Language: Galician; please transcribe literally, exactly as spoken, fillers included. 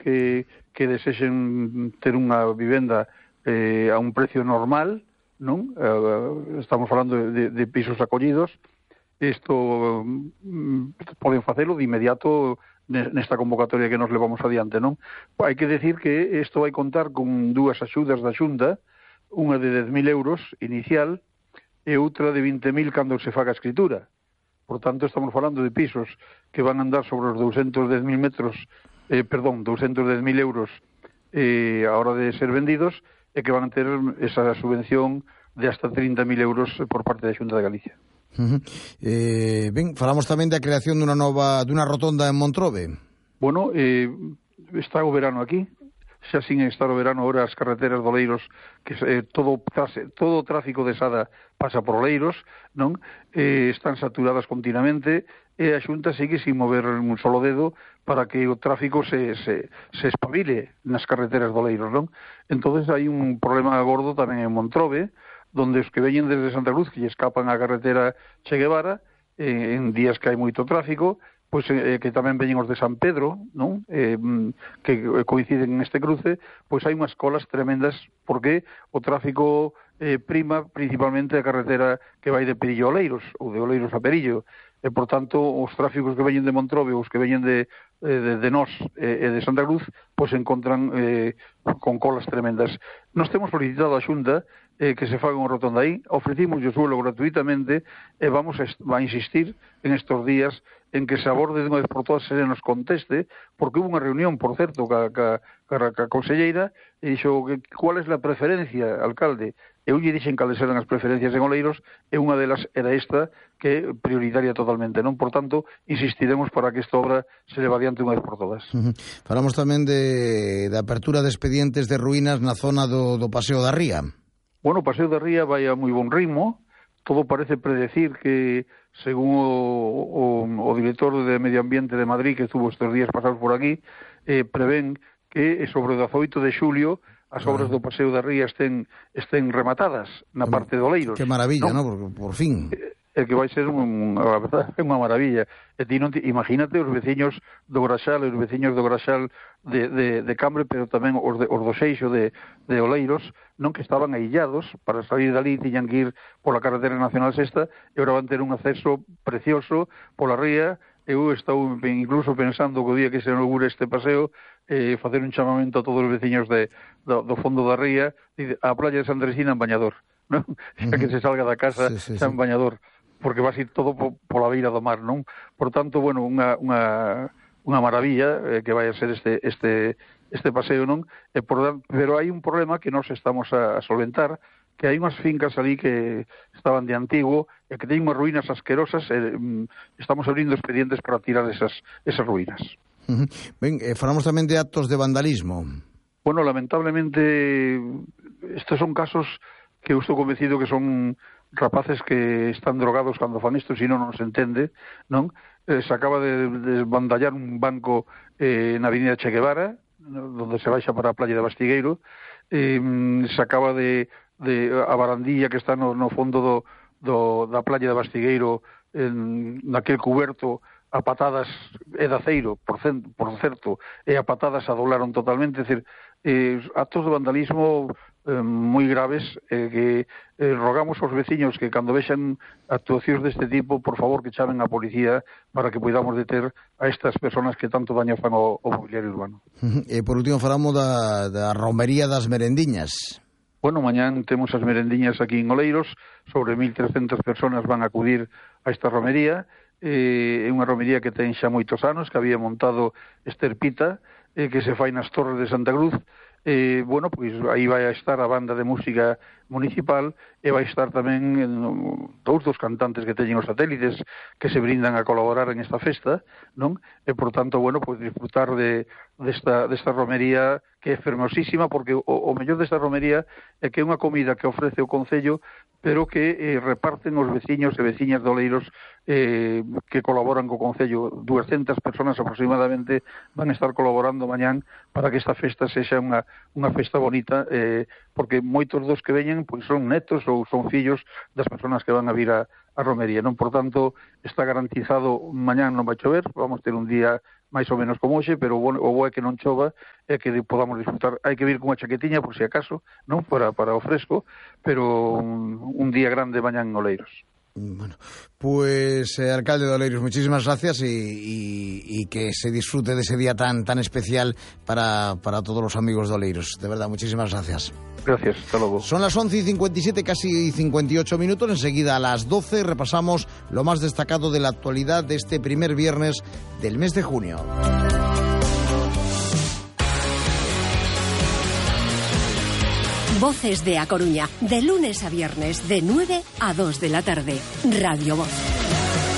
que, que desexen ter unha vivenda eh, a un precio normal, non? Eh, estamos falando de, de pisos acollidos. Isto mm, poden facelo de inmediato nesta convocatoria que nos levamos adiante, non? Hai que decir que isto vai contar con dúas axudas da Xunta, unha de dez mil euros inicial e outra de vinte mil cando se faga a escritura. Por tanto, estamos falando de pisos que van a andar sobre os doscientos dez mil metros, eh, perdón, doscientos dez mil euros eh, a hora de ser vendidos e que van a ter esa subvención de hasta trinta mil euros por parte da Xunta de Galicia. Uh -huh. eh, ben, falamos tamén da creación dunha nova dunha rotonda en Montrobe. Bueno, eh, está o verano aquí, xa sin estar o verano ahora as carreteras do Oleiros, que eh, todo todo o tráfico de Sada pasa por Oleiros, non? Eh, están saturadas continuamente e a Xunta sigue sin mover un solo dedo para que o tráfico se, se, se espabile nas carreteras do Oleiros, non? Entonces hai un problema gordo tamén en Montrobe, donde os que veñen desde Santa Cruz, que lle escapan a carretera Che Guevara, eh, en días que hai moito tráfico, pois eh, que tamén veñen os de San Pedro, non? Eh, que coinciden neste cruce, pois hai unhas colas tremendas porque o tráfico eh, prima principalmente a carretera que vai de Perillo a Oleiros, ou de Oleiros a Perillo, e por tanto os tráficos que veñen de Montrobe, os que veñen de, de, de Nós e eh, de Santa Cruz, pois se encontran eh, con colas tremendas. Nós temos solicitado a Xunta eh, que se faga unha rotonda aí, ofrecimos o suelo gratuitamente e vamos a, a insistir en estos días en que se aborde de unha vez por todas se nos conteste, porque hubo unha reunión, por certo, ca, ca, ca, ca conselleira, e dixo, cuál es la preferencia, alcalde? Eu lle dixen cales eran as preferencias en Oleiros, e unha delas era esta, que é prioritaria totalmente, non? Por tanto, insistiremos para que esta obra se leva adiante unha vez por todas. Uh -huh. Falamos tamén de, de apertura de expedientes de ruínas na zona do, do Paseo da Ría. Bueno, o Paseo da Ría vai a moi bon ritmo, todo parece predecir que, según o, o, o director de Medio Ambiente de Madrid, que estuvo estes días pasados por aquí, eh, prevén que sobre o dezaoito de xulio as obras do Paseo da Ría estén, estén rematadas na parte de Oleiros. Que maravilla, ¿no? ¿no? Por, por fin. É que vai ser un, a verdade, é unha maravilla. E ti non te, imagínate os veciños do Graxal, os veciños do Graxal de, de, de Cambre, pero tamén os, de, os do Seixo de, de Oleiros, non, que estaban aillados, para salir dali tiñan que ir pola carretera nacional sexta, e agora van ter un acceso precioso pola ría. Eu estou incluso pensando que o día que se inaugure este paseo, eh, facer un chamamento a todos os veciños de, do, do fondo da ría, a playa de Sandresina en bañador, non? Xa que se salga da casa sí, sí, xa en bañador, porque va a ser todo po, pola beira do mar, non? Por tanto, bueno, unha, unha, unha maravilla eh, que vai a ser este, este, este paseo, non? E por, pero hai un problema que nós estamos a, a solventar, que hai unhas fincas ali que estaban de antigo e que teñen unhas ruínas asquerosas e mm, estamos abrindo expedientes para tirar esas, esas ruínas. Uh -huh. Ben, eh, falamos tamén de actos de vandalismo. Bueno, lamentablemente estes son casos que eu estou convencido que son rapaces que están drogados cando fan isto, se non non se entende, non? Eh, se acaba de desbandallar un banco eh, na avenida Che Guevara, donde se baixa para a playa de Bastigueiro, eh, se acaba de, de a barandilla que está no, no fondo do, do, da playa de Bastigueiro, en, naquel cuberto, a patadas e de aceiro, por, cent, por certo, e a patadas adolaron totalmente, é dicir, eh, actos de vandalismo eh, moi graves, eh, que eh, rogamos aos veciños que cando vexan actuacións deste tipo, por favor que chamen a policía para que podamos deter a estas persoas que tanto daño fan ao, ao mobiliario urbano. E por último falamos da, da romería das merendiñas. Bueno, mañán temos as merendiñas aquí en Oleiros, sobre mil trescentas persoas van a acudir a esta romería. É eh, unha romería que ten xa moitos anos, que había montado Esterpita, eh, que se fai nas Torres de Santa Cruz. Eh, bueno, pois aí vai a estar a banda de música municipal e vai estar tamén en, dous dos cantantes que teñen os satélites que se brindan a colaborar en esta festa, non? E, por tanto, bueno, pois disfrutar de, desta, desta romería que é fermosísima, porque o, o mellor desta romería é que é unha comida que ofrece o Concello, pero que eh, reparten os veciños e veciñas de Oleiros eh, que colaboran co Concello. doscientas persoas aproximadamente van a estar colaborando mañán para que esta festa sexa unha, unha festa bonita, eh, porque moitos dos que veñen pois son netos ou son fillos das persoas que van a vir a, a romería, non? Por tanto, está garantizado, mañán non vai chover, vamos ter un día máis ou menos como hoxe, pero o bo, o bo é que non chova e que podamos disfrutar. Hai que vir con unha chaquetiña, por si acaso, non para, para o fresco, pero un, un día grande mañá en Oleiros. Bueno, pues eh, alcalde de Oleiros, muchísimas gracias y, y, y que se disfrute de ese día tan tan especial para, para todos los amigos de Oleiros. De verdad, muchísimas gracias. Gracias, hasta luego. Son las once y cincuenta y siete, casi cincuenta y ocho minutos. Enseguida a las doce repasamos lo más destacado de la actualidad de este primer viernes del mes de junio. Voces de A Coruña, de lunes a viernes, de nueve a dos de la tarde. Radio Voz.